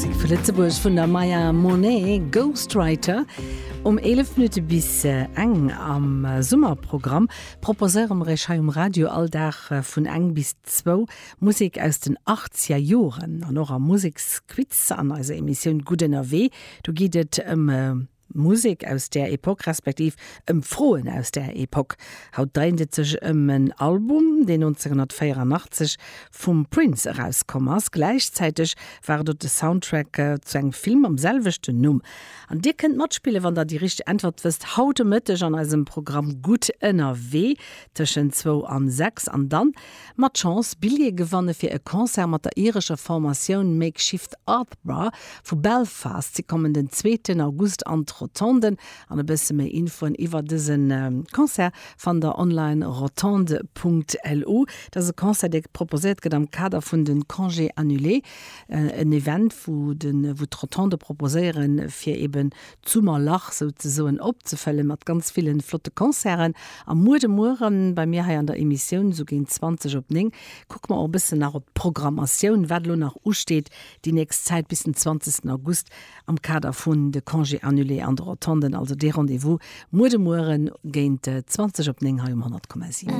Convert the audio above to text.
Musek vu Lëtzebuerg vun der Maya Monet, Ghostwriter. Um 11 Minutte bis eng am Summerprogramm proposéiere mer Iech hei um Radio all Dag vun eng bis zwou Musek aus den achtzeger Joren. An och am Museksquiz an eiser Emissioun Gutt ënnerwee, do geet et ëm Musek aus där Epoch, respektiv ëm Froen aus där Epoch. Haut dréint et sech ëm en Album, deen 1984 vum Prince erauskomm ass. Gläichzäiteg war et och de Soundtrack zu engem Film mam selwechten Numm. An dir kënnt matspillen, wann der déi richteg Äntwert wësst, haut de Mëtteg an eisem Programm Gutt ënnerwee tëschent zwou an 6 an dann Mat Chance Billjeeë gewanne fir e Concert mat der irescher Formatioun Makeshift Ardbra vu Belfast. Si kommen den zweeten August an d'Rotonden. An e bësse méi Infoen iwwer dëse Concert fannt der online rotonde.lu. Dat ass e Concert, dee proposéiert gëtt am Kader vun de Congés annulés, en Event wou d'Rotonde proposéieren, fir eben d'Summerlach souzesoen opzefëllen mat ganz villen flotte Concerten. A muer de Mueren bei mir hei an der Emissioun, sou géint 20 op 9, kucke mer och e bëssen nach op d'Programmatioun, wat elo nach usteet déi nächst Zäit bis den 20 August am Kader vun de Congés annulés an de Rotonden. Also dee Rendez-vous muer de Mueren géint 20 op 9 hei um 100,7.